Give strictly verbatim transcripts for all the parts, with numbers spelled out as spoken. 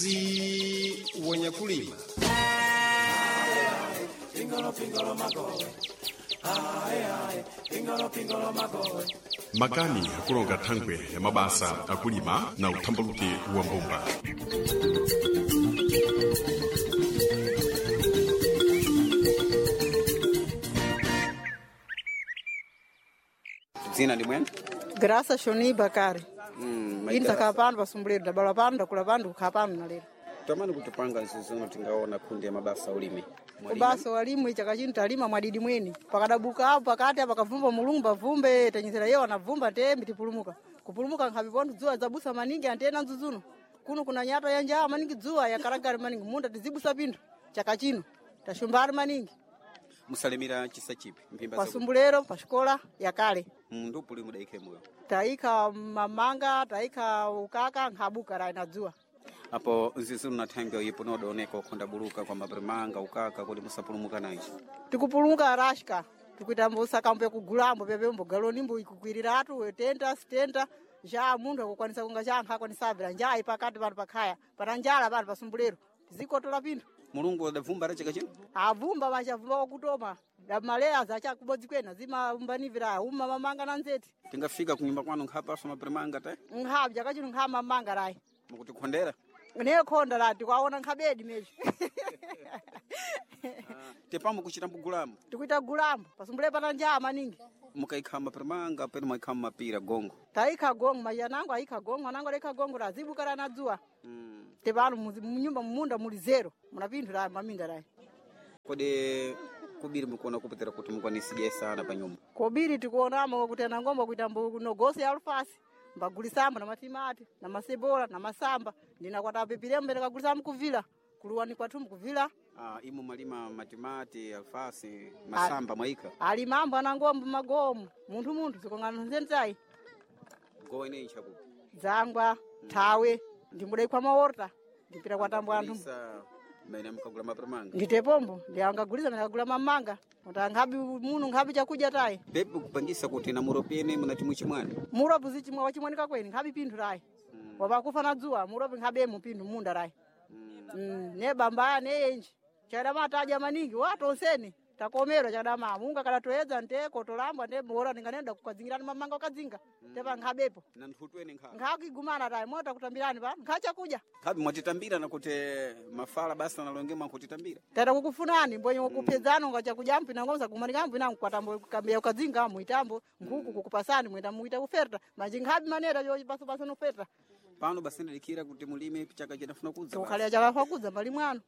Muzi wanyakulima. Makani akulonga thangwe ya mabasa akulima na uthambaluke wa mbumba. Dzina ndi mwene? Graça Shoni Bakari. Mm, Ini takhala pano pasumbuliro ndabala pano ndakula pano ndikukhala pano nalero. Tamani kutipanga nzizono tingaona kundi ya mabasa ulimi. Mwalima? Ubasa walimu chaka chino talima mwadidi mweni. Pakadabuka apo pakati apa pakavumba mulungu pavumbe tenyezera yewo anavumba ntembi tipulumuka. Kupulumuka nkhapi pontho dzuwa zabusa maningi antena nzuzuno. Kuno kuna nyata ya njaa maningi dzuwa yakaragari maningi munda tizibusa pinthu chaka chino. Tashumbari maningi. Musalimira chisa chipi mphimba za Pasumbulero pasikola yakale. mundu puli mudaikhe moyo. Taikha mamanga, taikha ukaka nkhabuka ra na dzuwa. Apo nzizono na thangwe ipo nodaoneka ukhonda buluka kwa maprimanga ukaka kuti musapulumuka nacho. Tikupulumuka rashka tikuita mbosaka mbe kugulambo pepe mbogaloni mbo ikukwiriratu tenta sitenta ja munthu akukwanisa kunga cha anthu akwanisabvira njaa ipakati pano pakhaya pana njala pano pasumbulero tizikotola pinthu Mulungu adavumba ra chaka chino? avumba vachavumba kwakutoma maleya zacha kubodzi kwena zimaumbaniviraya uma mamanga na nzeti Tingafika kunyumba kwanu nkhapaso maprimanga te? nkhapi chaka chino nkha mamanga rayi Mukutikhondera? nekhonda la tikuaona nkhabedi mecho Tepamo kuchita mbugulamo. tikuita gulambo pasumbulero pana njaa maningi Mukaikha maprimanga penu mwaikha mapira gongo. taikha gongo mayanango aikha gongo anango alaikha gongo razibuka rana dzuwa Mm. tepano muzi- munyumba mumunda muli zero muna pinthu rayi maminda rayi Kodi kubiri mukuona kupetera kuti mukwanisiye sana pa nyumba. kobiri tikuonamo kuti anangomba kuita mbu ya alufasi mbagulisambo na matimati na masebola na masamba ndinakwatapipiremo mbene kagulisambo kuvila kuluwani kwathu mkuvila Ah, imo malima matimati, alfasi, masamba mwaika. alimambo anangomba magomo munthu munthu zikongano nzentayi Gowa ineyi chakupi. dzangwa thawe ndimbudaikwa maorta ndipita kwatambo anthu Isa mene mukagula maprimanga. nditepombo ndiangagulisa mene kagula mamanga kuti anghabi munu nkhabi chakudya tayi Pepe kupangisa kuti na muropene munati muchimwani. muropi zichimwa wachimwanika kweni nkhabi pinthu rayi wapakufa na dzuwa muropi nkhabemo pinthu munda rayi mm, ne bambaya ne yenji chadama tadya maningi watonseni takomerwa chadama munga kada toedza nte kotolambwa nte bora ndinganenda kukadzingirani mamanga ukadzinga tepa nkhabepo Na nthutweni nkha. nkhakigumana tayi mota kutambirani pa nkha chakudya Khabi mwatitambira na kuti mafala basi analonge mwankutitambira. tata kukufunani mbwenye kuphedzano nga chakudya mpina ngomza kumanika mpina mkwatambo kambeya ukadzinga muitambo nkhuku kukupasani mwenda muita kuferta manji nkhabi manera yo baso baso noferta Pano basi ndidikira kuti mulime chaka chinafuna kudza. basi. tukhalira chakafa kudza mbali mwano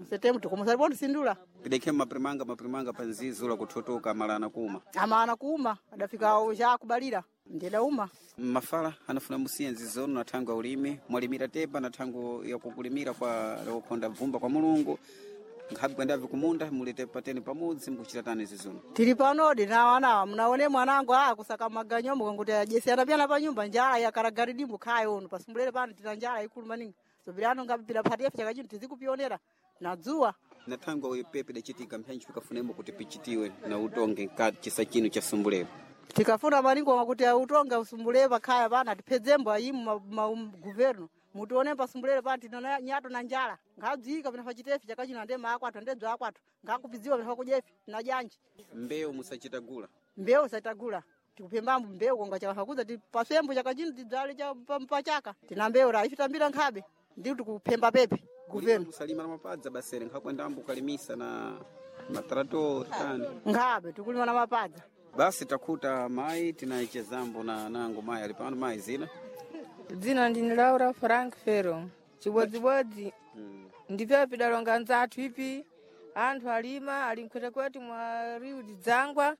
msetemu tikumusalipo ndisindula Pidekhe maprimanga maprimanga pa nzizo la kuthotoka malana kuma. amana kuuma adafika chakubalira ndida uma Mafala anafuna musiye nzizono na thango ya ulimi mwalimira tepa na thango ya kukulimira kwa kukhonda bvumba kwa mulungu nkhabi kwendavi kumunda muli tepa teni pamodzi mukuchita tani zizono. tili panodi nawanawa munaone mwanangu a kusaka maganyo mukanguti ajesiyana pyana pa nyumba njala yakaragaridimbo khaya ono pasumbulere pano tina njala ikulu maningi zobirano ngapipira phati yafe chaka chino tizikupionera na dzuwa Na thango ya pepe dachitika mphanji pikafunemo kuti pichitiwe na utonge nkati chisa chino cha sumbulero. tikafuna maningi kuti utonga usumbulere pakhaya pana tiphedzembo ayimu maguverno mutione pasumbulere pana tina nyato na njala ngadzika pina pachitefi chaka chino ande maakwathu ande bza akwathu ngakupidziwa pina pakujefi tina janji Mbewu musachitagula. mbewu saitagula tikuphembambo mbewu konga chakafakuza tipasembo chaka chino tidzale cha pa- pachaka tina mbewu ra ifitambira nkhabe ndi tikuphemba pepe guverno Kusalima na mapadza basere nkhakwendambo kukalimisa na matrator tani. nkhabe tikulima na mapadza Basi takhuta mayi tinaichezambo na nango mayi ali pano mayi zina. Dzina ndini Laura Frank Fero. Chibodzibodzi Mm. ndipyo pidalonga nzathu ipi anthu alima ali mkhwetekwete mwa riu dzangwa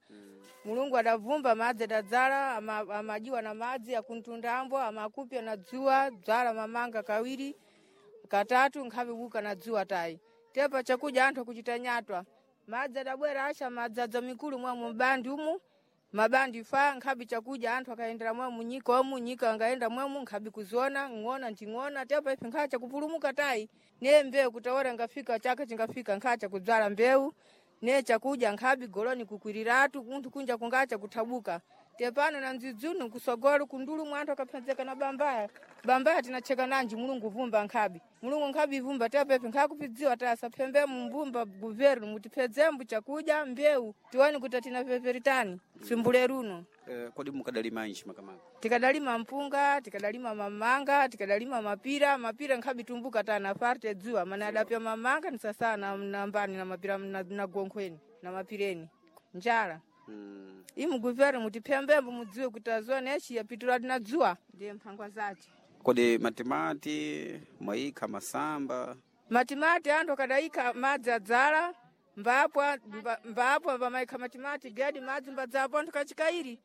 mulungu adavumba madzi adadzala ama- amajiwa na madzi akuntundambo amakupya na dzuwa dzala mamanga kawiri katatu nkhapi buka na dzuwa tayi tepa chakudya anthu akuchita nyatwa madzi adabwera asha madzadza mikulu mwa mubandi umu mabandi fa nkhabi chakudya anthu akayendera mwe munyika omu nyika angayenda mwemu nkhabi kuziona ng'ona nding'ona tepa ife nkhacha kupulumuka tayi ne mbewu kutawera ngafika chaka chingafika nkhacha kudzala mbewu ne chakudya nkhabi goloni kukwiriratu kunthu kunja kungacha kuthabuka Tepano na nzidzunu kusogolo kundulu mwanthu akaphedzeka na bambaya. Bambaya tinacheka nanji Mulungu vumba nkhabi. Mulungu nkhabi vumba tepepe nkhakupidziwa tasa phembe mumbumba guvernu mutiphedzembu chakudya mbewu tione kuti tina peperitani simbule runo. Eh, kodi mukadalima nji makamaka? Tikadalima mpunga, tikadalima mamanga, tikadalima mapira, mapira nkhabi tumbuka tana parte dzuwa mana adapya mamanga ni sasa na nambani na mapira na, na gonkhweni na mapireni. Njala. Mm. Imu guvernu mutiphembembo mudziwe kuti azone echi yapitula tina dzuwa ndiye mphangwa zace. Kodi matimati mwayikha masamba? Matimati anthu akadayikha madzi adzala mbapwa mba- mbapwa pamaikha matimati gedi madzi mbadzapo anthu kachikairi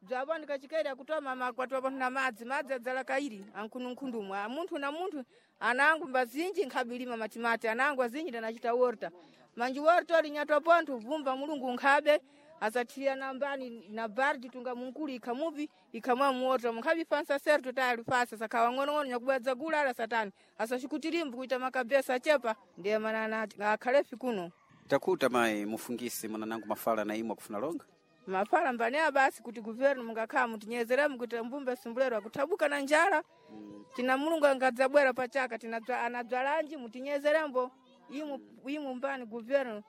bzapo anthu kachikairi akutoma makwatiwa panthu na madzi madzi adzala kairi ankhununkhundumwe munthu na munthu anangu mbazinji nkhabe matimati anangu azinji ndanachita worta manji worta olinyatwa pontho vumba Mulungu nkhabe asathirira na mbani na bardi tunga munkulu ikha mupi ikhamwa muota munkhabe fansa serto tayali fasa sakhawa ng'onong'ono nyakubwadza gula ala satani asacikutilimbu kuita makabesa achepa ndiye mana akhalefi kuno. Takuta mayi mufungisi mwananangu mafala na imwe akufuna longa? Mafala mbanea basi kuti guvernu mungakhala mutinyezeremu kuti mbumbe sumbulero akuthabuka na njala tina Mulungu angadzabwera pachaka tina anadzwalanji mutinyezerembo imu imu mbani guvernu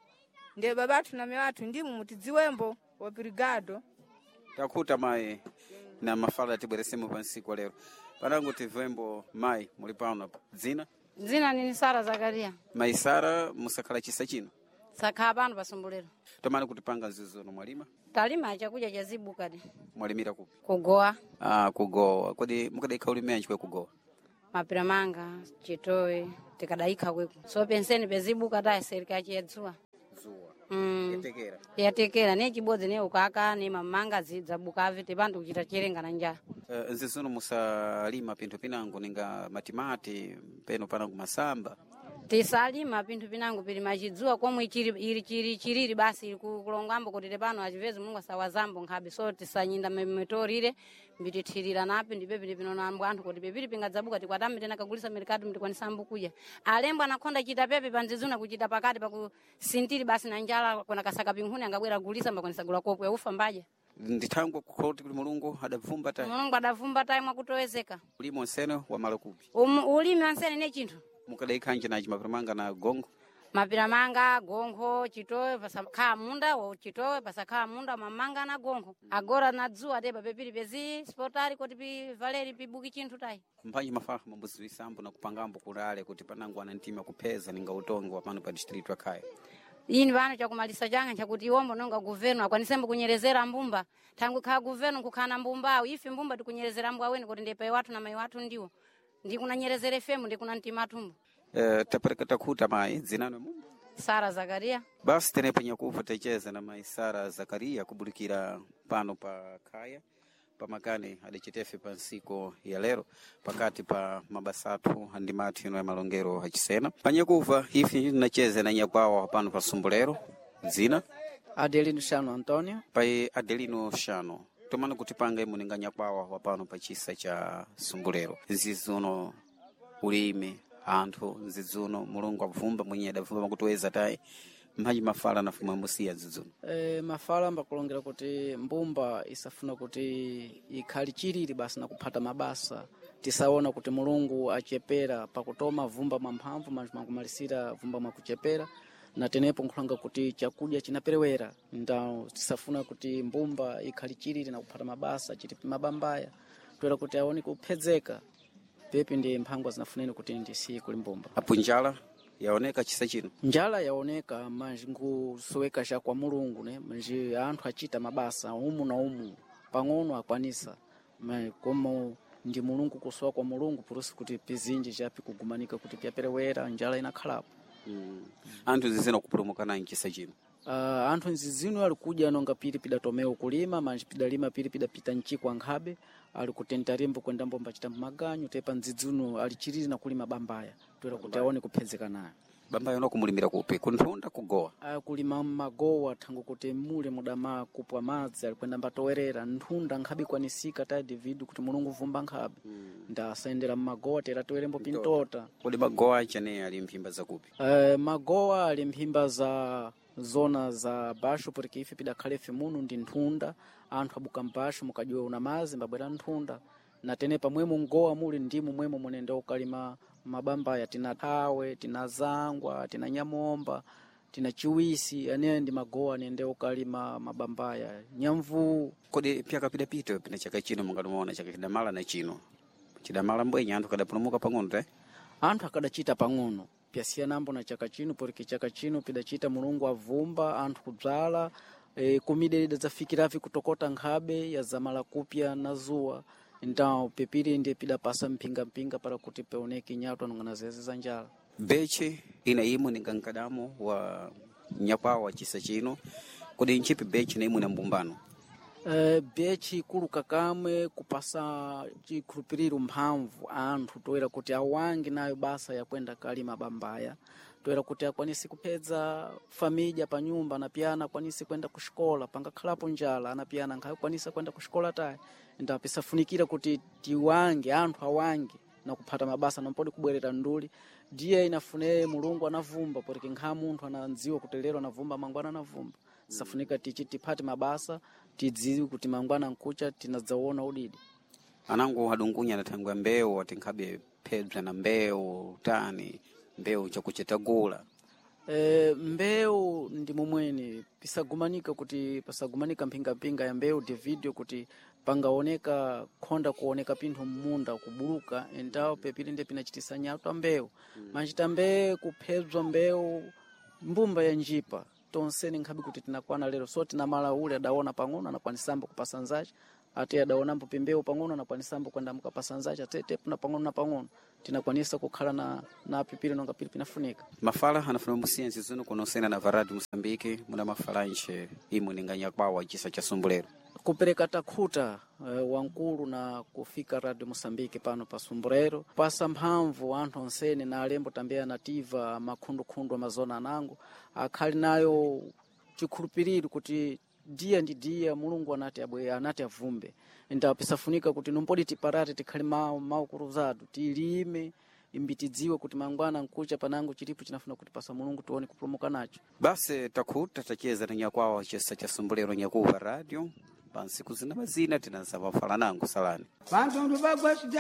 ndiye babathu na mewathu ndimu mutidziwembo obrigado. Takuta mayi na mafala tibweresemo pa nsiku lero. Panangu tivembo mayi muli pano dzina? Dzina nini Sara Zakaria. Mayi Sara musakhala chisa chino. Sakhala pano pasumbuliro. Tomani kutipanga nzizono mwalima? Talima chakudya cha zibukadi. Mwalimira kupi? Kugowa. Ah, kugowa. Kodi mukadaikha ulimi anji kwe kugowa? Mapira manga, chitowe, tikadaikha kweku. So penseni pezibuka tayi serika chiyadzuwa. Zuwa. Mm. Yatekera. Yatekera ne chibodzi ne ukaka ne mamanga zidzabuka avete pantu kuchita cherenga na njala. Uh, nzizono musalima pinthu pinango ninga matimati peno panango masamba. Tisalima pinthu pinango pili machidziwa komwe chiri ili chiri chiriri basi ili ku- kulongambo kuti tepano achipezi Mulungu asawazambo nkhabe so tisanyinda mitorire mbitithirira napi ndipe pili pinonambo anthu kuti pepili pingadzabuka tikwatame tena kagulisa merikatu mtikwanisa kudya alembo anakhonda chita pepe panzizuna kuchita pakati pakusintiri basi na njala kona kasaka pinkhuni angabwera gulisa mbakwanisa gula kopwe ufa mbaja. Ndithangwe kukhoti kuti Mulungu adavumba tayi. Mulungu adavumba tayi mwakutowezeka. Ulimi onsene wamala kupi? Um, ulimi wansene ne chinthu. Mukadaikha nji nachi mapira manga na gongo? Mapira manga gonkho chitowe pasakhala munda wa chitowe pasakhala munda mamanga na gonkho agora na dzuwa tepa pepili pezi spotali kuti pi valeri pibuki chinthu tayi. Mphanji mafaha mambuziwisambo na kupangambo kulale kuti panangu ana mtima kupheza ninga utongo wa pano pa district wa Khaya. Ini pano chakumalisa changa chakuti iwombo nonga guvernu akwanisembo kunyerezera mbumba thangwi khala guvernu nkukhala na mbumbawo ife mbumba tikunyerezera mbwa weni kuti ndiye wathu na mayi wathu ndiwo ndikunanyerezera ifemu ndikuna mtima athumbo. Eh, tapereka takhuta mayi dzinano mumba. Sara Zakaria. Basi tenepo nyakufa techeza na mayi Sara Zakaria kubulikira pano pa Khaya pamakani adicitefe pa nsiko ya lero pakati pa mabasa athu andimathu ino ya malongero achisena panyakufa ife tinacheza na nyakwawa pano pa sumbulero dzina Adelino Shano Antonio. pai Adelino Shano tomana kutipanga imu ninga nyakwawa wa pano pa chisa cha sumbulero nzizuno ulimi anthu nzidzuno Mulungu abvumba mwenye adavumba makutuweza tayi mphanji mafala nafumwe musiya nzidzuno. E, mafala ambakulongera kuti mbumba isafuna kuti ikhali chilili basi na kuphata mabasa tisaona kuti Mulungu achepera pakutoma vumba mwa mphamvu manthu makumalisira vumba mwakuchepera na tenepo nkhulanga kuti chakudya chinaperewera ndawo tisafuna kuti mbumba ikhali chilili na kuphata mabasa chitipi mabambaya toera kuti aone kuphedzeka pepi ndi mphangwa zinafuneni kuti ndisiye kuli mbumba. Apo njala yaoneka chisa chino. Njala yaoneka manji nkusoweka cha kwa Mulungu ne manji anthu achita mabasa umu na umu pang'ono akwanisa Ma- komo ndi Mulungu kusowa kwa Mulungu purusi kuti pizinji chapi kugumanika kuti pyaperewera njala inakhalapo. Mm. Anthu zizina kupulumukana mchisa chino. Uh, anthu nzizino ali kudya nonga pili pidatomewo kulima manji pidalima pili pidapita mchikwa nkhabe ali kutenta limbo kwenda mbomba chita maganyu tepa nzidzino ali chilili na kulima bambaya toera kuti aone kuphedzeka nayo. Bambaya uno kumulimira kupi kunthunda kugowa. Akulima magowa thango kuti mule mudama kupwa madzi alikwenda mbatowerera nthunda nkhabe ikwanisika tayi David kuti Mulungu vumba nkhabe mm. Ndasayendera mmagowa tera towerembo pintota. Kodi magowa achane ali mphimba zakupi? Uh, magowa ali mphimba za zona za basho porque ife pidakhale ife muno ndi nthunda anthu abuka mbasho mukajiwa una mazi mbabwera nthunda na tene pamwemo mgowa muli ndimu mwemo munende ukalima mabambaya tina thawe tina zangwa tina nyamomba tina chiwisi ane ndi magowa anende ukalima mabambaya nyamvuu Kodi pyaka pidapita pina chaka chino mungatimaona chaka chidamala na chino chidamala mbwenye anthu kadapulumuka pang'ono te anthu akadachita pang'ono pyasiyanambo na chaka chino porque chaka chino pidachita mulungu avumba anthu kudzala e, kumida idadzafikiravi kutokota nkhabe yazamala kupya na zuwa então pepiri ndiye pidapasa mphingamphinga para kuti peoneke nyatwa nong'ana zeze za njala beche ina imwe ninga nkadamo wa nyakwawa chisa chino kodi nchipi beche na imwe na mbumbano Uh, bechi ikuluka kamwe kupasa chikhulupiriro mphamvu anthu toera kuti awange nayo basa yakwenda kalima bambaya toera kuti akwanise kupedza familya pa nyumba anapiyana akwanise kwenda kuxikola pangakhalapo njala anapiyana nkhakwanisa kwenda kuxikola tayi nda pisafunikira kuti tiwange anthu awange na kuphata mabasa nampodi kubwerera nduli ndiye inafune mulungu anavumba porque nkha munthu anadziwa kuti lero anavumba mangwana anavumba safunika tichi tiphate mabasa tidziwe kuti mangwana nkucha tinadzaona udidi anangu adungunya adathangwa mbewu atinkhabe phebza na mbewu tani mbewu chakuchetagula E, mbewu ndi momweni pisagumanika kuti pasagumanika mphingamphinga ya mbewu devidio kuti pangaoneka khonda kuoneka pinthu mmunda kubuluka endawo pepili ndiye pinachitisa nyatwa mbewu mm. machita mbee kuphedzwa mbewu mbumba ya njipa tonseni nkhabe kuti tinakwana lero so tinamala ule adaona pang'ono anakwanisambo kupasa nzache ate adaonambo pimbewu pang'ono anakwanisambo kwenda mukapasa nzache ate na pang'ono na pang'ono tinakwanisa kukhala na, na pipili nonga pili pinafunika mafala anafuna musiensi zino kunosena na varadi Moçambique muna mafala nche imwe ninga nyakwawa chisa cha Sumbulero kupereka takhuta uh, wankulu na kufika radio Moçambique pano pa Sumburero pasa mphamvu anthu onsene na alembo tambeya nativa makhundukhundu amazona anango akhali nayo chikhulupiriro kuti diya ndi diya mulungu anati abwe anati avumbe ndapisafunika kuti numpodi tiparate tikhale mawu maukuruzatu tilime imbi tidziwe kuti mangwana nkucha panango chilipo chinafuna kuti pasa mulungu tione kupulumuka nacho basi takhuta tacheza na nyakwawa chisa cha Sumbulero nyakuva radio pansiku zina mazina tinazamafala nangu salani Vantu vagwasida